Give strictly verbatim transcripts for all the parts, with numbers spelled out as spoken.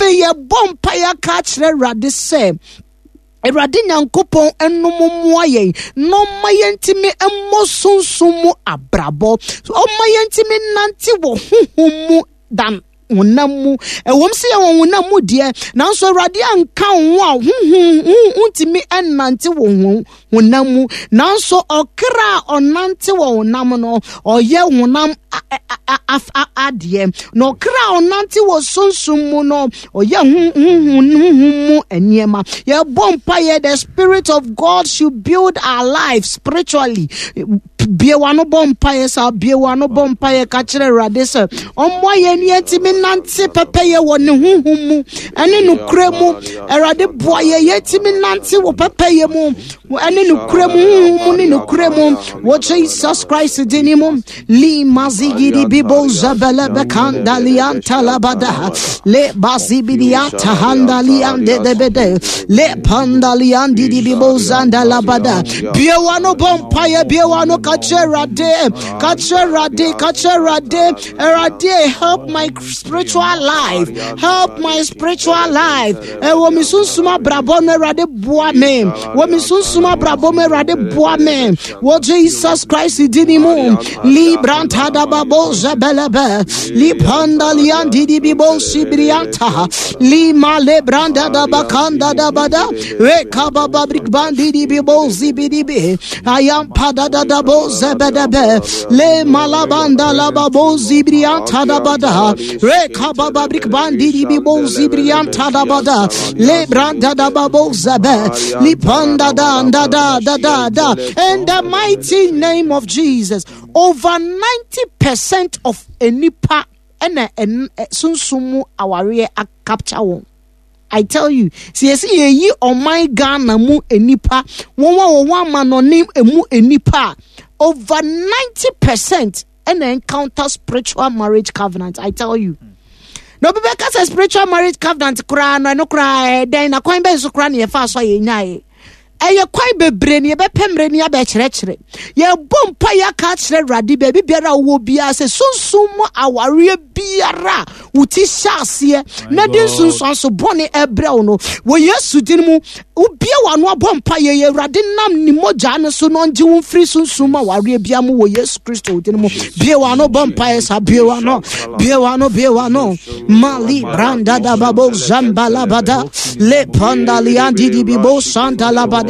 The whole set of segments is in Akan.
Afei yɛbɔ mpaeɛ aka akyerɛ Awurade sɛ Awurade Nyankopɔn ɛnom mmoa yɛn na ɔmma yɛntumi mmɔ sunsum mu abrabɔ, ɔmma yɛntumi nante wɔ honhom mu dan honam mu. Ɛwɔm sɛ yɛwɔ honam mu deɛ, nanso Awurade anka wo ho a honhom wontumi nnante wɔ honam mu. Nanso ɔkra a ɔnante wɔ honam no, ɔyɛ honam adeɛ. Na ɔkra a ɔnante wɔ sunsum mu no, ɔyɛ honhom mu nneɛma. Yɛbɔ mpaeɛ, the spirit of God should build our life spiritually. Bie w'ano bɔ mpaeɛ saa, bie w'ano bɔ mpaeɛ ka kyerɛ Awurade sɛ ɔmmoa yɛn ne yɛntumi nante pɛpɛyɛ wɔ ne honhom mu ɛne nokorɛ mu. Awurade boa yɛn yɛntumi nante wɔ pɛpɛyɛ mu ɛne nokorɛ mu, honhom mu ne nokorɛ mu wɔ Jesus Christ din mu. Li mazigidi bibo zabele bekanda lianta labada le bazibidianta handa liande debede le panda liandi di bibo zanda labada. Bie w'ano bɔ mpaeɛ, bie w'ano ka kyerɛ Awurade, ka kyerɛ Awurade, ka kyerɛ Awurade. Awurade, help my spiritual life, help my spiritual life. Ɛwɔ mi sunsum abrabɔ no, Awurade boa me. Wɔ mi sunsum abrabɔ mu, Awurade boa me. Wɔ Jesus Christ din mu. Libranta da babo zebelebe lipanda liandi di bibo sibrianta lima lebranda da bakanda da bada reka baba brikbandi di bibo zibidibi ayam pada da da bo zebedebe le malabanda la babo zibrianta da bada reka baba brikbandi di bibo zibrianta da bada le branda da babo zebe lipanda da da da da da da. In the mighty name of Jesus, over ninety percent of enipa ɛna ɛn sunsum mu awareɛ capture wɔn. I tell you, si yɛsi yɛyi ɔman Ghana mu enipa, wɔn a wɔwɔ amanɔne emu enipa, over ninety percent ɛna encounter spiritual marriage covenant. I tell you. Na obi bɛka sɛ spiritual marriage covenant koraa no, ɛno koraa ɛdɛn na kwan bɛn so koraa na yɛfa so a yɛnyaeɛ? Ɛyɛ kwan bebree ne yɛbɛpɛ mmerɛ ni abɛkyerɛkyerɛ. Yɛbɔ mpa yɛaka akyerɛ Awurade baabi biara a wowɔ biara sɛ sunsum mu awareɛ biara a wo ti hyɛ aseɛ na de nsunsuanso bɔne ɛbrɛ wo no, wɔ Yesu din mu, wobie w'ano abɔ mpa yɛ yɛ Awurade nam ne mogya no so na ɔngye wo mfiri sunsum mu awareɛ biara mu wɔ Yesu Kristo din mu. Bie w'ano bɔ mpa yɛ saa, bie w'ano, bie w'ano, bie w'ano. Mali branda da babo zamba labada le panda liandi di bibo santa labade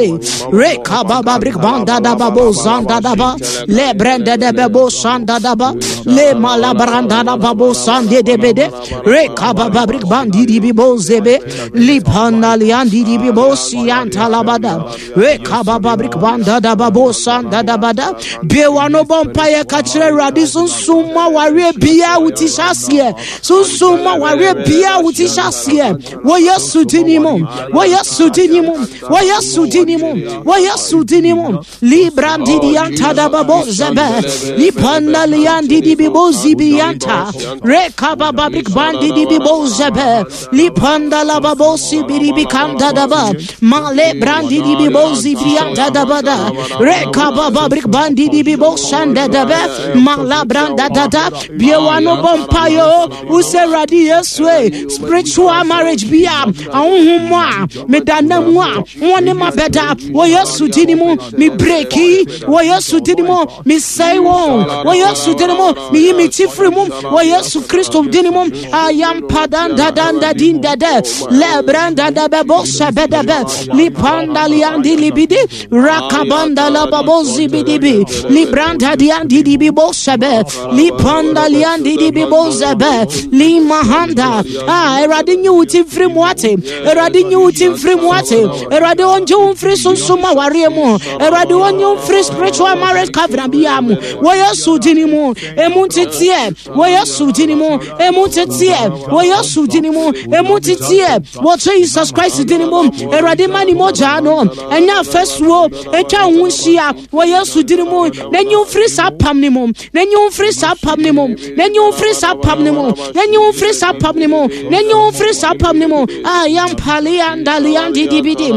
reka baba brik banda da babo zanda da ba le brenda de bebo sanda da ba le malabranda da babo sande de bede reka baba brik bandi di bibo zebe li panda liandi di bibo sianta labada reka baba brik banda da babo sanda da bada. Bie w'ano bɔ mpaeɛ ka kyerɛ Awurade sunsum mu awareɛ biara wo ti hyɛ aseɛ, sunsum mu awareɛ biara wo ti hyɛ aseɛ wɔ Yesu din mu, wɔ Yesu din mu, wɔ Yesu din mu, wɔ Yesu din mu. Librandi di anta da babo zebe lipanda liandi di bibo zibianta reka baba brik bandi di bibo zebe lipanda la babo sibiri bikanda da ba male brandi di bibo zibianta da bada reka baba brik bandi di bibo sanda da be mala branda da da. Bie w'ano bɔ mpaeɛ wosɛ Awurade Yesu e spiritual marriage bi a ahonhom mu a meda nam mu a wɔn ne ma bɛda wɔ Yesu din mu, me breki wɔ Yesu din mu, me sɛe wɔn wɔ Yesu din mu, me yi me ti firi mu wɔ Yesu Kristo din mu. Ayampa danda din dada le branda da bebo sebe de be lipanda liandi libidi rakabanda la babo zibidibi libranda diandi dibi bo sebe lipanda liandi dibi bo zebe limahanda. Ah, Awurade nyi wo ti mfiri mu ate, Awurade nyi wo ti mfiri mu ate, Awurade ɔngye wo mfiri sunsum awareɛ mu, Awurade ɔnyi wo mfiri spiritual marriage covenant biara mu wɔ Yesu din mu. Emu nteteɛ wɔ Yesu din mu, emu nteteɛ wɔ Yesu din mu, emu nteteɛ wɔ Jesus Christ din mu. Awurade ma ne mogya no ɛnyɛ afasuo atwa wo ho nhyia wɔ Yesu din mu, na nyi wo mfiri saa pam ne mu, na nyi wo mfiri saa pam ne mu, na nyi wo mfiri saa pam ne mu, na nyi wo mfiri saa pam ne mu, na nyi wo mfiri saa pam ne mu. Ayampali andali andidibidi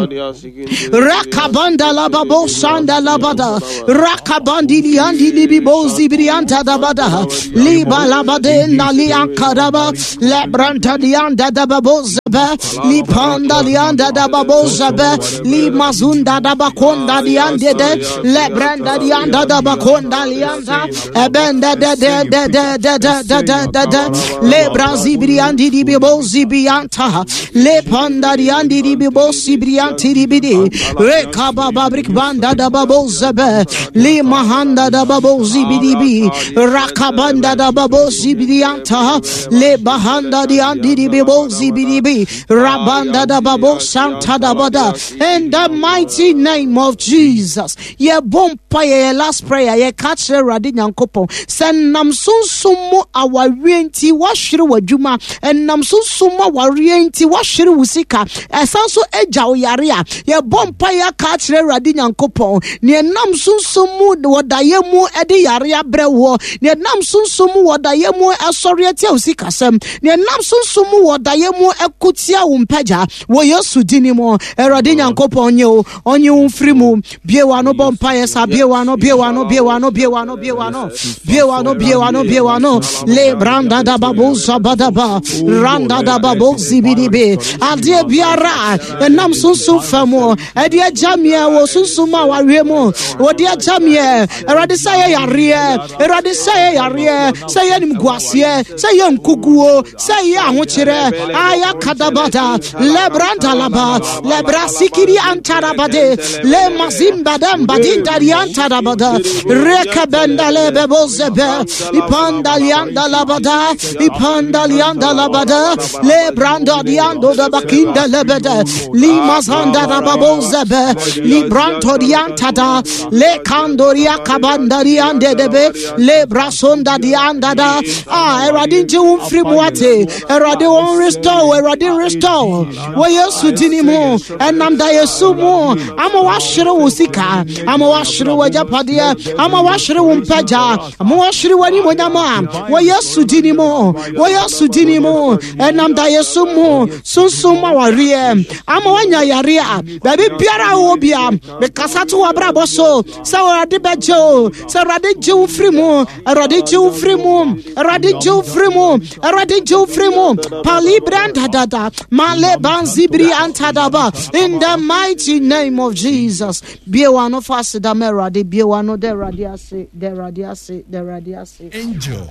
rakabanda lababo sanda labada rakabandi liandi libibo zibrianta dabada liba labade nali ankadaba lebranta lianda dababo zebe li panda lianda da babo zebe li mazunda da bakonda liande de le brenda lianda da bakonda lianda ebenda de de de de de de de de de le brazibriandi di bibo zibianta le panda liandi di bibo sibrianti di bidi rekaba babrik banda da babo zebe li mahanda da babo zibidibi rakabanda da babo zibidianta le bahanda di andi di bibo zibidibi rabanda da babo santa da bada. In the mighty name of Jesus, ye bompa ye last prayer ye catch Awurade Nyankopɔn sɛ nam sunsum mu awareɛ nti wahwere w'adwuma, ɛnam sunsum mu awareɛ nti wahwere wo sika, ɛsan so agya wo yare a, yɛbɔ mpa yɛ aka akyerɛ Awurade Nyankopɔn nea ɛnam sunsum mu wɔdayɛ mu ɛde yare abrɛ woɔ, nea ɛnam sunsum mu wɔdayɛ mu ɛsɔre atia wo sikasɛm, nea ɛnam sunsum mu wɔdayɛ mu ɛko tia wo mpagya wɔ Yesu din mu. Awurade Nyankopɔn nye wo, ɔnye wo mfiri mu. Bie w'ano bɔ mpa yɛ sa, bie w'ano, bie w'ano, bie w'ano, bie w'ano, bie w'ano, bie w'ano, bie w'ano, bie w'ano. Le branda da babu zabadaba randa da babu zibidibi adeɛ biara ɛnam sunsum fa mu ɛde agya meɛ wɔ sunsum a wawie mu wɔde agya meɛ. Awurade sɛ yɛ yareɛ, Awurade sɛ yɛ yareɛ, sɛ yɛ nimguaseɛ, sɛ yɛ nkuguo, sɛ yɛ ahokyerɛ aya kadabada le branda laba le brasikiri antarabade le mazimba damba dinda antarabada rekabenda le bebozebe ipanda lianda labada ipanda lianda labada le branda diando da bakinda lebede li mazanda da babozebe li branto diantada le kandoria kabanda diande debe le brasonda dianda da. Ah, Awurade nti wo mfiri mu ate, Awurade wɔn restore, Awurade restore wɔ Yesu din mu. Ɛnam da Yesu mu ama wahwere wo sika, ama wahwere wo agyapadeɛ, ama wahwere wo mpagya, ama wahwere w'animonyam a wɔ Yesu din mu, wɔ Yesu din mu. Ɛnam da Yesu mu sunsum awareɛ ama wanya yare a baabi biara a wowɔ bia mekasa to w'abrabɔ so sɛ Awurade bɛgye wo, sɛ Awurade gye wo firi mu, Awurade gye wo firi mu, Awurade gye wo firi mu, Awurade gye wo firi mu. Palibranda male banzibri antadaba. In the mighty name of Jesus. Bie w'ano fa aseda ma Awurade, bie w'ano da Awurade ase, da Awurade ase, da Awurade ase. Angel.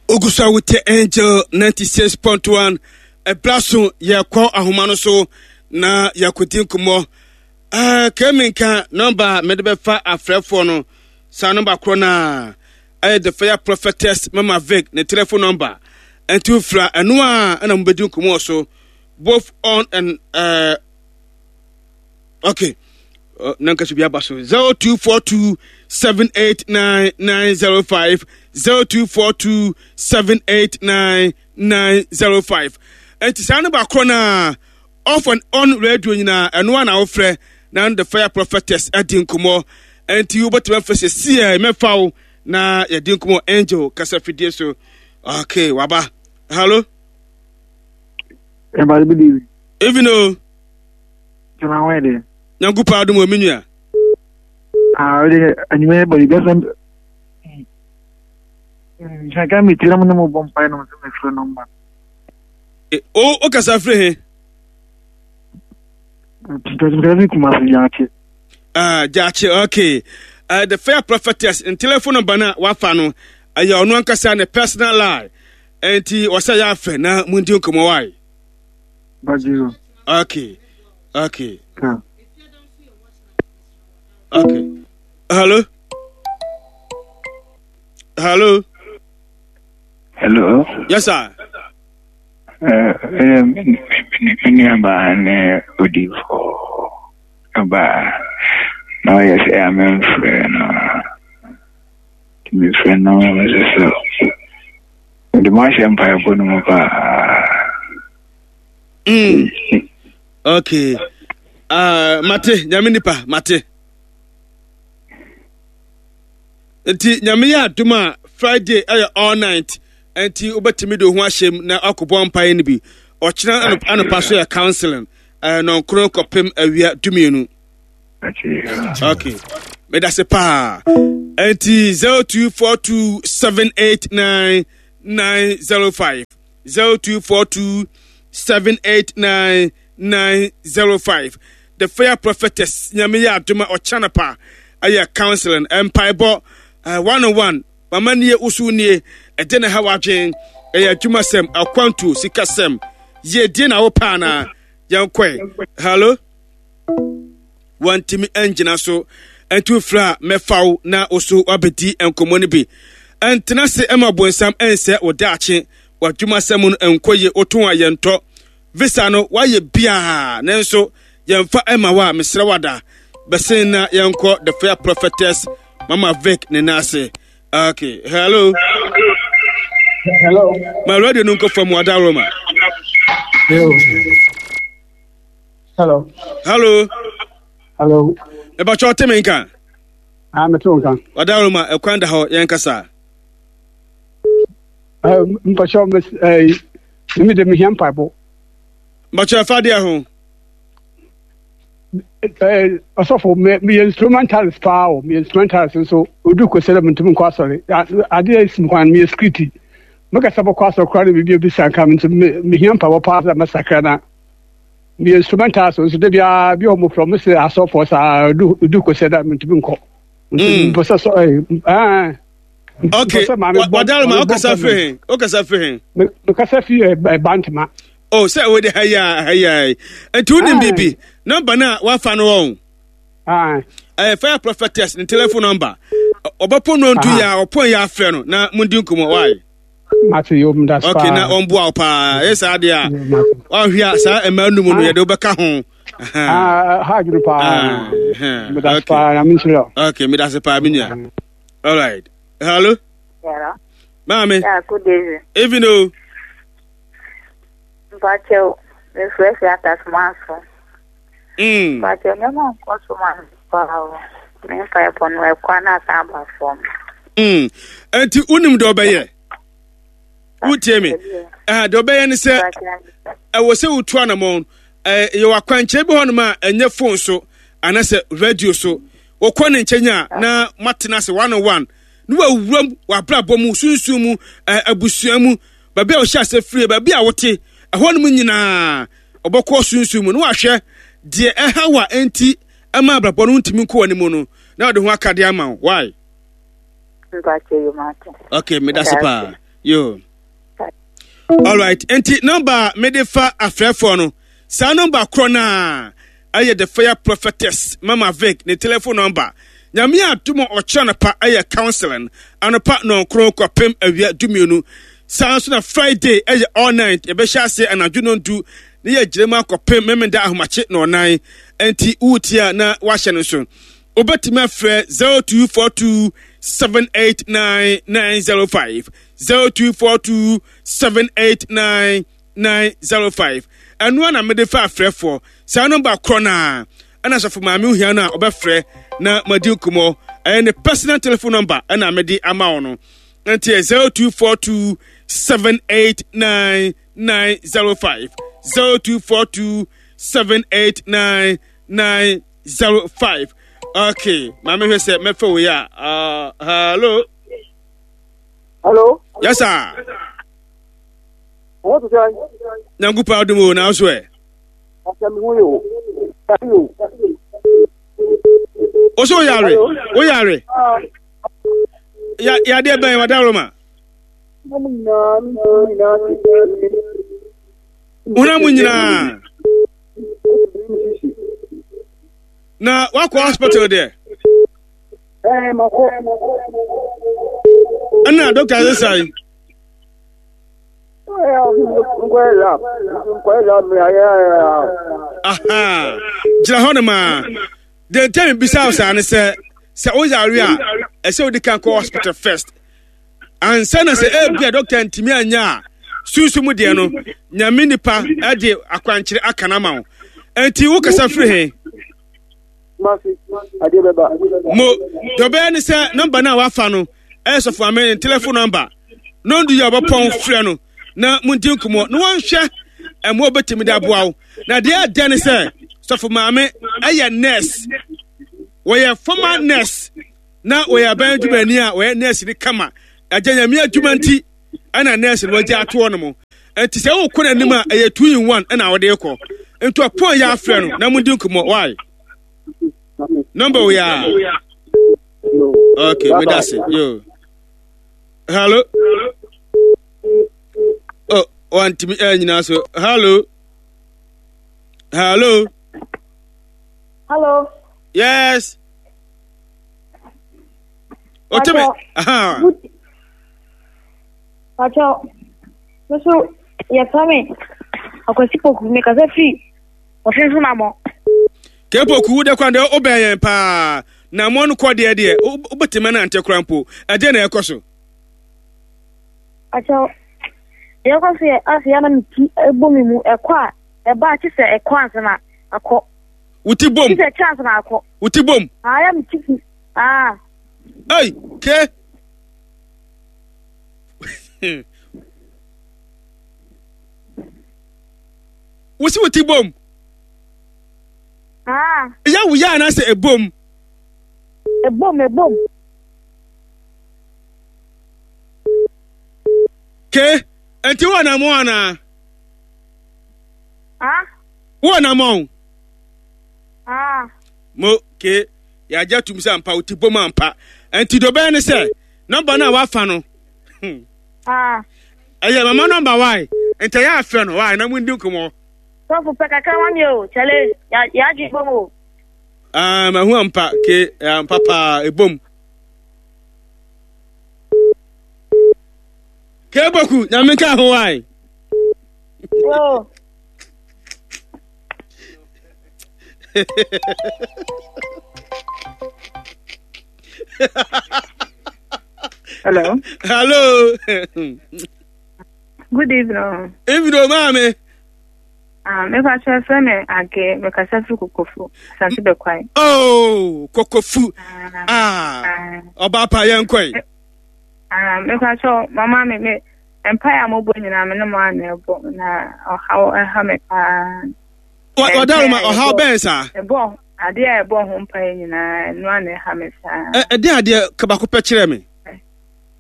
Ogusa wote Angel ninety-six point one. Ɛbra so yɛkɔ ahoma no so na yɛkɔdi nkɔmmɔ. Uh, Keminka number mede bɛfa afrɛfoɔ no saa number korɔ no a ɛyɛ the fire prophetess Mama Vic ne telephone number. Ɛnti wofira ɛno a ɛna mobɛdi nkɔmmɔ so both on and uh, okay. Uh, nanka so bi aba so zero two four two seven eight nine nine zero five zero two four two seven eight nine nine zero five. Ɛnti saa number korɔ no a off and on radio nyinaa ɛno a na wofrɛ na the fire prophetess adi nkɔmmɔ. Ɛnti wobɛtumi afrɛ sɛ sie mɛfa wo na yɛdi nkɔmmɔ Angel kasa fidie so. Okay, waba. Hello. Even o. Nyankopɔn adom wɔ me nua. Ah, anwummerɛ bɔ bɛsɛ nhyɛnka metira mu ne mo bɔ mpae no sɛ mefrɛ nɔmba. O o kasa firi he? Ah, Gyaakye, okay. Uh, the fire prophetess in telephone number na wafa no ɛyɛ ɔno ankasa ne personal line. Enti ɔsɛ yɛ afɛ na mundi nkɔmmɔ wae. Okay. Okay. Yeah. Okay. Hello. Hello. Hello. Yes, sir. Uh, me nuabaa ne odifo ɔbaa na ɔyɛ sɛ amemfrɛ no mefrɛ no sɛ sɛ mede mo ahyɛ mpaebɔ no mu paa. Mm. Okay. Uh, mate nyame nipa mate. Nti nyame yɛ adom a Friday ɛyɛ all night. Nti wobɛtumi de wo ho ahyɛm na akɔbɔ mpaeɛ no bi. Ɔkyena anɔpa so yɛ counseling. Uh, nɔnkron kɔpem awia dumienu. Okay. Medase paa. Nti zero two four two seven eight nine nine zero five zero two four two seven eight nine nine zero five. The Fire Prophetess Nyame yɛ adom a ɔkyɛ anɔpa ɛyɛ counseling mpaebɔ uh, one on one. Mama nie woso nie ɛde na ha wadwen ɛyɛ adwumasɛm akwantuo sikasɛm yiedie na wopɛ anaa yɛnkɔe. Hello, wantumi angyina so ɛnti wofrɛ a mɛfa wo na wo so wabɛdi nkɔmmɔ no bi. Ɛntena se ɛma bonsam ɛnsɛ wo daakye w'adwumasɛm no ɛnkɔ yie wotɔn a yɛntɔ visa no wayɛ biaa nanso yɛmfa ɛma wo a mesrɛ wada bɛsen na yɛnkɔ The Fair Prophetess Mama Vic ne nan ase. Okay, hello. Hello. Ma radio no nkɔ fam wada Roma. Yo. Hello. Hello. Hello. Ɛbɛkyɛ ɔte me nka. Ah, mete wo nka. Wada Roma ɛkwan da hɔ yɛn kasa. Mpakyɛ ɛɛ me de mehia mpaebɔ. Mpakyɛ ɛfa deɛ ho. Ɛɛ ɔsɔfo me meyɛ instrumentalist paa o, meyɛ instrumentalist nso odu kɔsɛ dɛ mentumi nkɔ asɔre. Adeɛ a esi kwan meyɛ skriti. Mekasa bɔkɔ asɔre koraa na biribi abisa nka me nti mehia mpaebɔ paa sɛ mɛsakra na meyɛ instrumentalist nso da biara bi a wɔn frɛ mo sɛ asɔfoɔ saa odu odu kɔsɛ dɛ mentumi nkɔ. Nti mpɛ sɛ sɔ ɛɛ ɛɛ. Okay, wadarima wokasa firi he wokasa firi he? Mekasa firi Bantama. Oh, sɛ wode ha yi a ha yi a nti wonim biribi nɔmba no a woafa no wɔn ɛyɛ Fire Prophetess ne telephone number ɔbɛpɔ no ntu yɛ a ɔpɔn yɛ afrɛ no na mondi nkɔmmɔ wae. Mate yɛ om das paa. Okay, na ɔmboa wo paa ɛyɛ saa deɛ a woahwe a saa mmaa num no yɛde wobɛka ho. Ha adwene paa. Medas paa na menhyira. Okay, medase paa me nua. All right. Hello. Hello. Maame. Yeah, good evening. Evening o. Mpakyɛw, mefrɛ fi Atasoma so. Mm. Mpakyɛw, nneɛma nkɔ so ma me paa o. Me mpaebɔ no ɛkɔ na asan aba fam. Mm. Enti wonim deɛ ɔbɛyɛ? Wotie me? Eh, deɛ ɔbɛyɛ ne sɛ ɛwɔ sɛ wotu anamɔn. Eh, yɛwɔ akwankyerɛ bi hɔnom a ɛnyɛ phone so anaasɛ radio so. Wokɔ ne nkyɛn a na moatena ase one on one na wawuram w'abrabɔ mu, sunsum mu, eh, abusua mu, baabi a wɔhyɛ ase firie, baabi a wote, ɛhɔ nom nyinaa ɔbɛkɔ sunsum mu na wahwɛ deɛ ɛha wo a ɛnti ɛma abrabɔ no ntumi nkɔ w'anim no na ɔde ho akadeɛ ama wo. Why? Okay, medase paa. Yo. Alright, nti nɔmba a mede fa afrɛfoɔ no, saa nɔmba korɔ no a ɛyɛ The Fire Prophetess Mama Vic ne telephone number. Nyame adom a ɔkyerɛ anɔpa ɛyɛ counseling anɔpa nɔnkron kɔpem awia dumienu. Saa nso na Friday ɛyɛ all night, yɛbɛhyɛ aseɛ anadwo nɔndu ne yɛgyina mu akɔpem Memenda ahomakye nɔnan. Nti woretie a na wahyɛ no nso. Wobɛtumi afrɛ zero two four two seven eight nine nine zero five zero two four two seven eight nine nine zero five. Ɛno a na mede fa afrɛfoɔ saa nɔmba korɔ no a ɛna sɔfo maame ohia no a ɔbɛfrɛ na madi nkɔmmɔ ɛyɛ ne personal telephone number ɛna mede ama wo no nti yɛ zero two four two seven eight nine nine zero five zero two four two seven eight nine nine zero five. Okay, maame hwɛ sɛ mɛfɛ wo yɛ a. Uh, hello. Hello. Yes sir. What to say? Nyankopɔn adom o na so ɛ. Asɛm ho yɛ o. Yare o. O so yare. O yare. Ya yadeɛ bɛn wada Roma. Honam mu nyinaa. Na wakɔ hospital deɛ. Ɛɛ makɔ. Ɛna dɔkta sɛ sae. Aha, gyina hɔ nom a. Deɛ nti a mebisa wo saa ne sɛ, sɛ woyare a, ɛsɛ wodi kan kɔ hospital first. Ansa na sɛ ebia dɔkta ntumi anya a, sunsun mu deɛ no, nyame nipa de akwankyerɛ aka no ama wo. Enti wokasa firi he? Mo, deɛ ɔbɛyɛ ne sɛ nɔmba no a wafa no ɛyɛ sɔfo ame ne telefon nɔmba. Na ɔndu yɛ ɔbɛpɔn frɛ no na mondi nkɔmmɔ na wɔnhwɛ ɛmo a ɔbɛtumi de aboa wo. Na deɛ ɛdɛ ne sɛ sɔfo maame ɛyɛ nurse, wɔyɛ former nurse na wɔyɛ aban adwumani a wɔyɛ nurse ne kama. Agya nyame adwuma nti Ɛna nurse no wagya atoɔ no mo. Nti sɛ wokɔ n'anim a ɛyɛ two in one ɛna wɔde kɔ. Nti ɔpɔn yɛ afrɛ no na mo di nkɔmmɔ. Why? Number wo ya. Okay, me that's it. Yo. Hello. Oh, wantumi eh nyinaa so. Hello. Hello. Hello. Yes. Oteme. Aha. Pacho. Me so yɛfrɛ me Akwasi Poku mekasa firi Ɔfenso Namɔ. Ke Poku wo de kwan de wobɛn yɛn paa. Namɔ no kɔ deɛ deɛ wobɛtumi anante kora mpo. Ɛdeɛ na ɛkɔ so. Pacho. Deɛ ɛkɔ so yɛ ase yɛ na me ti bɔ me mu ɛkɔ a ɛba a kye sɛ ɛkɔ ansa na akɔ. Wo ti bom. Kye sɛ ɛkyɛ ansa na akɔ. Wo ti bom. Ah, yɛ me ti fi. Ah. Ei, ke. Wo si wo ti bom. Ah. Ɛyɛ wo yɛ anaasɛ ɛbom? Ɛbom, ɛbom. Ke, nti wo anamɔ anaa? Ah? Wo anamɔ? Ah. Mo, ke, yɛagye atum sɛ ampa wo ti bom ampa. Nti deɛ ɔbɛyɛ ne sɛ, nɔmba no a wafa no, hmm. Ah. Ɛyɛ mama nɔmba wae, nti ɛyɛ afrɛ no wae na mundi nkɔmmɔ. Sɔfo pɛ kakra ma mi o, kyɛle, yɛadwe bom o. Ah, mahu ampa, ke, ampa paa, ebom. Keboku, nyame nka ho wae. Oh. Hello. Hello. Good evening. Evening, maame. Ah, me pa kyerɛ fɛ me age me kasa firi Kokofu, Asante Bɛkwae. Oh, Kokofu. Ah. ah. Ɔba pa yɛn kɔe. Ah, me pa kyerɛ mama me me mpae a mobɔ nyinaa me ne mo ana ɛbɔ na ɔhaw ɛha me paa. Ɔda ma ɔhaw bɛn saa? Ɛbɔ adeɛ a ɛbɔ ho mpae nyinaa ɛno ana ɛha me saa. Ɛde adeɛ kabako pɛ kyerɛ me.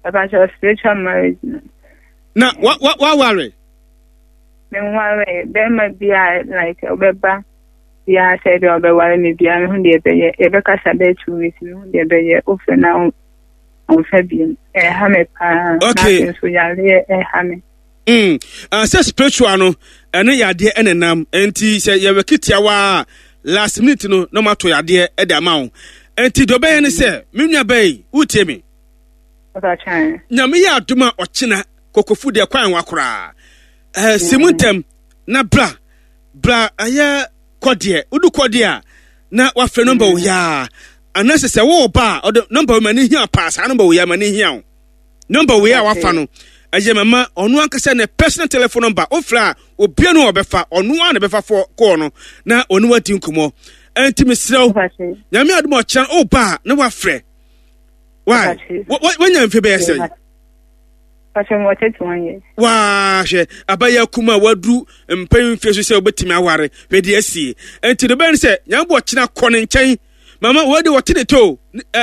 Ɛpa kyerɛ spiritual marriage no. Na wa wa waware? Menwaree. Bɛrima bi a like ɔbɛba biara sɛ ebi a ɔbɛware me biara mehu deɛ ɛbɛyɛ. Yɛbɛkasa bɛyɛ two weeks mehu deɛ ɛbɛyɛ. Wofrɛ na ɔmfa biom. Ɛha me paa. Okay. Na afei nso yareɛ ɛha me. Mm. Uh, sɛ spiritual no ɛne yadeɛ ɛna nam nti sɛ yɛwɛ kitiawa a last minute no na ɔmato yadeɛ ɛde ama wo nti deɛ ɔbɛyɛ ne sɛ me nua bɛyi wotie me nyame yɛ adom a ɔkyena kokofu deɛ kwan wa koraa ɛɛ si mu ntɛm na bra bra ɛyɛ kɔdeɛ wodu kɔdeɛ a na wafrɛ nɔmba wo yaa anaasɛ sɛ wowɔ ba a ɔde nɔmba wo ma ne hia paa saa nɔmba wo yaa ma ne hia wo nɔmba wo a wafa no ɛyɛ mama ɔno ankasa ne personal telephone number wofrɛ a obia no ɔbɛfa ɔno a na bɛfa fɔ kɔɔ no na ɔne wadi nkɔmmɔ ɛnti mesrɛ wo nyame adom ɔkyerɛ no woba a na wafrɛ why wanya mfe bɛyɛ sɛn Waa hwɛ abayɛ kuma a waduru mpɛn mfe so sɛ wobɛtumi aware hwɛ deɛ asie nti no bɛn sɛ nyame ɔkyena kɔ ne nkyɛn mama wɔde wɔte ne to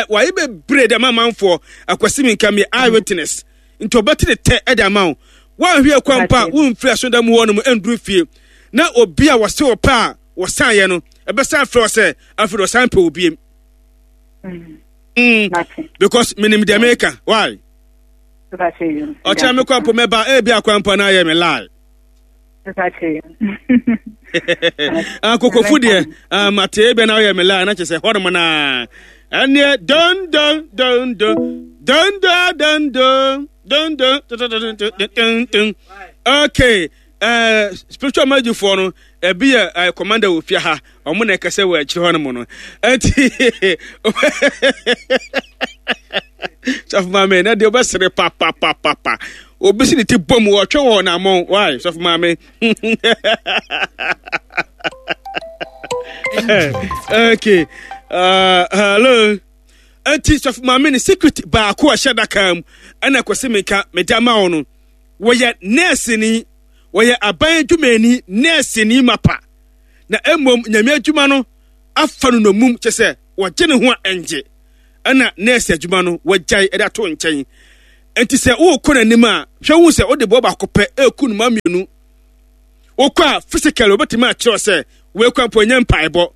wɔayɛ bebree de ama amanfoɔ akwasi mi nka mi eye witness nti ɔbɛte ne tɛ ɛde ama wo woanhwɛ akwa mpo a womfiri asɔnda mu hɔ nom ɛnduru fie na obi a wɔse wɔpɛ a wɔsan yɛ no ɛbɛsan frɛ wɔ sɛ afei de ɔsan pɛ obiem mm. because menim deɛ meka why ɔkyerɛ me kwan po mɛba ebi akwan po na ayɛ me lie akokofo deɛ mate ebia na ayɛ me lie na kyerɛ sɛ hɔnom na ɛneɛ don don don don don don don don don don don don don okay uh, spiritual marriage foɔ no ebi yɛ uh, commander wɔ fie ha ɔmo na ɛkɛsɛ wɔ akyire hɔ no mu no ɛnti sɔfo maame na deɛ ɔbɛsere papapapapa obi si ne ti bom wɔtwe wɔ n'amɔn why sɔfo maame okay uh, hello ɛnti sɔfo maame ne secret baako a ɛhyɛ daka mu ɛna kɔsi mi nka mede ama wo no wɔyɛ nɛɛseni wɔyɛ aban adwumayɛni nɛɛseni mapa na mmom nyame adwuma no afa no nomum kyɛ sɛ wɔgye ne ho a ɛngye ɛna nɛɛse adwuma no wɔgyae ɛde ato nkyɛn Enti sɛ wokɔ n'anim a, hwɛ hu sɛ wode boɔ baako pɛ ɛreku nnomaa mmienu. Wokɔ a physically wobɛtumi akyerɛw sɛ wei kwan mpo ɛnyɛ mpaebɔ.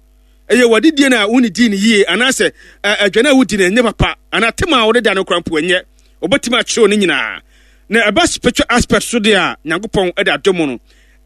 Ɛyɛ w'adidie no a wonnidii no yie anaasɛ aduane a wodi no ɛnyɛ papa anaa tema a wode da no kora mpo ɛnyɛ. Wobɛtumi akyerɛw ne nyinaa. Na ɛba spiritual aspect so deɛ a, Nyankopɔn de adom no.